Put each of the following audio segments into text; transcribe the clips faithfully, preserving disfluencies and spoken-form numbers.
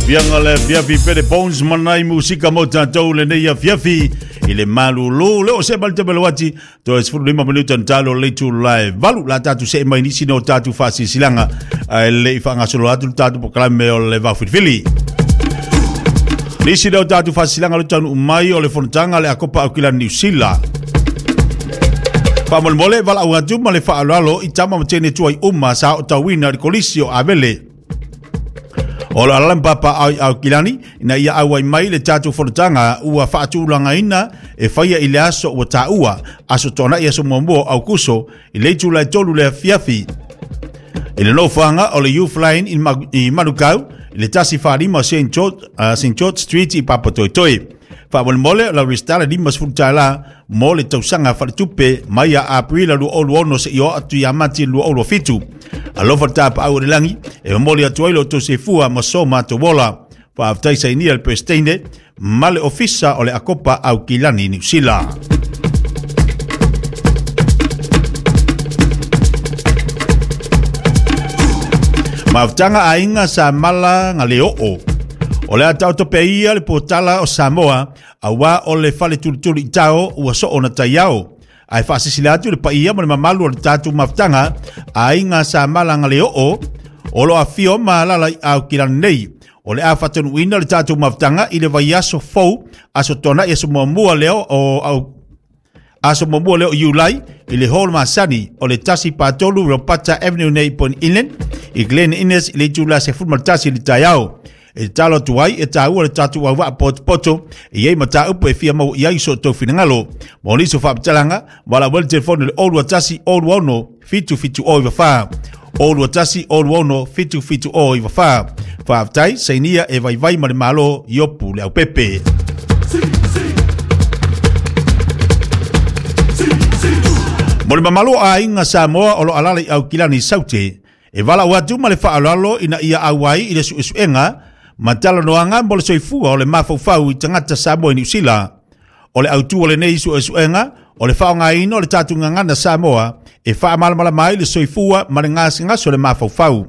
Fianga le fiafi pere Bones manai musika mo tatou le nei fiafi i le malulu le o se malte belwati to es furu lima minuta ntalo le tu live valu la tatu se mai nisi no tatu fasisilanga le i whangasolo atu tatu pokalame o le vafilifili. Nisi no tatu fasisilanga le tanu umai o le fontanga le akopa au kila New Zealand. Whamolemole wala au atu ma le whaalalo i tama matene tuai uma sa o tauina le kolisi o Avele. O la alam papa au au kilani ina ia au ai mai le tatou fonotanga ua faatulagaina e faia i le aso ua taua aso tona ia so muamua au kuso i le itula e tolu le afiafi. I le nofoaga o le Youth Line i Manukau i le tasi faalima o Saint George, uh, Saint George Street i Papatoetoe. Faamolemole la restala lima sefulu tala mo le tausaga faletupe mai ia Aprila lua olu ono se i o atu ia Mati lua olu fitu. Alofa tapa au le langi e momoli atu ai lo outou soifua ma so matou ola. Faafetai sainia le Presidente ma le Ofisa o le Akopa au Kilani Niu Sila. Mafutanga aiga sa mala nga le oo. O le atau tope ia le potala o Samoa, awa o le fale tulutulu i tao ua so o na taiao. Ai whaasisila atu le paia mo le mamalu o le tātou mafutanga, aiga sa mala nga le oo, o lo awhio ma lala i au kilani nei. O le a whatanuina le tātou mafutanga i le vaiaso fou, aso tona i aso muamua leo o au aso muamua leo Iulai, i le hall masani o le tasi patolu Ropata Avenue nei Point Inland, i Glen Innes i le itula se fulu tasi le taiao. E talo atu ai e tāua le tātou au waa poto i ei mata upu e fia mau i ai so tau finangalo. Mo niso whaaptalanga, wala wele telefone le olua tasi olua ono fitu fitu o iwa wha. Olua tasi olua ono fitu fitu o iwa wha. Whaaftai, sainia e vaivai ma le malo iopu le au pepe. Mo le mamalo a inga Samoa o lo alala i au kilani saute. E wala atu ma le whaalalo ina ia auai i le suesuenga matala noanga mo le soifua o le mafaufau i tangata Samoa i Niu Sila. O le autu o le nei suesuenga o le whaongaina o le tātou ngangana Samoa e whaamalamala mai le soifua ma le ngasingaso le mafaufau.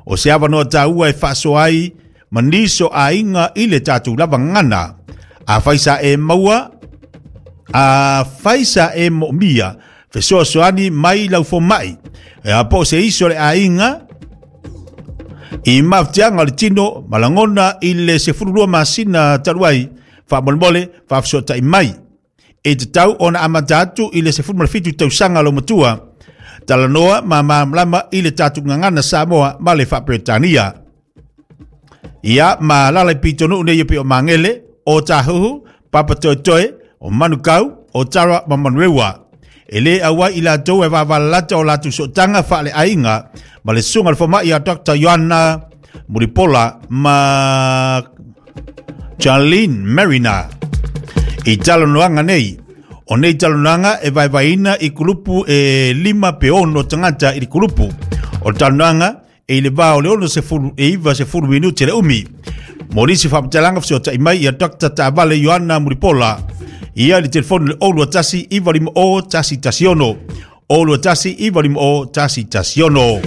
O se awanoa tāua e whaasoai ma niso ainga i le tātou lava ngana. A whaisa e maua, a whaisa e moomia, fesoasoani mai laufo mai. E apo se iso le ainga i mafutiaga o le tino malagona i le sefululua masina talu ai faamolemole faafesoata'i mai. E tatau ona amata atu i le sefulu ma le fitu tausaga lo matua talanoa ma malamalama i le tatou gagana Samoa ma le Faaperetania. Ia ma lala i pitonuu nei e pei o Magele, o Tahuhu, Papatoetoe, o Manukau, o Tara ma Manuewa. E le aua i latou e vavalalata o latou sotaga faaleaiga ma le suga le foma'i a Doctor Ioana Mulipola ma Charlene Marina. I talanoaga nei, o nei talanoaga e vaevaeina i kulupu e lima pe ono tagata i le kulupu. O le talanoaga e i le va o le ono sefulu e iva sefulu minute le umi. Mo nisi faamatalaga fesoata'i mai ia Doctor Ta'avale Ioana Mulipola. Ia le telefone le olua tasi iwa lima o tasi tasi ono. Olua tasi iwa lima o tasi tasi ono.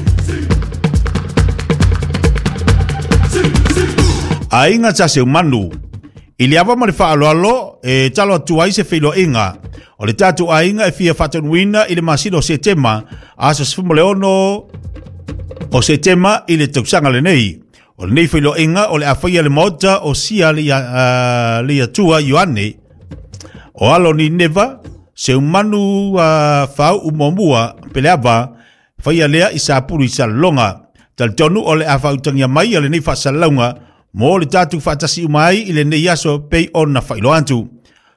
Ainga tasi umanu. I le awa ma le whaaloalo e talo atu ai se whiloinga. O le tātou ainga e fia whatanuina i le masino o Setema aso sefumu le ono o Setema i le tausaga lenei. O le nei whiloinga o le awhaia le maota o sia le uh, atua Ioane. O alo ni neva, se umanu uh, whau umuamua peleava, whaia lea i sapuru i salonga. Talitonu o le awhautangia mai a le nei whaasalaunga, mo le tātou whaatasi umai i le nei aso pei ona whailoa atu.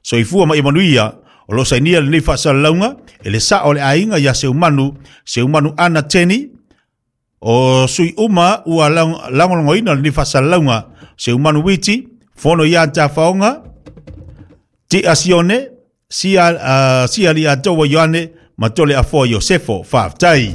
Soifua ma imanuia, o lo sainia le nei whaasalaunga, e le sa o le ainga ia se umanu, se umanu ana teni, o sui uma ua langolongoina le nei whaasalaunga, se umanu witi, fono ia anta whaonga, Ti asione, sia, uh, sia li atoa Ioane, ma tole afoa Iosefo, whaaftai.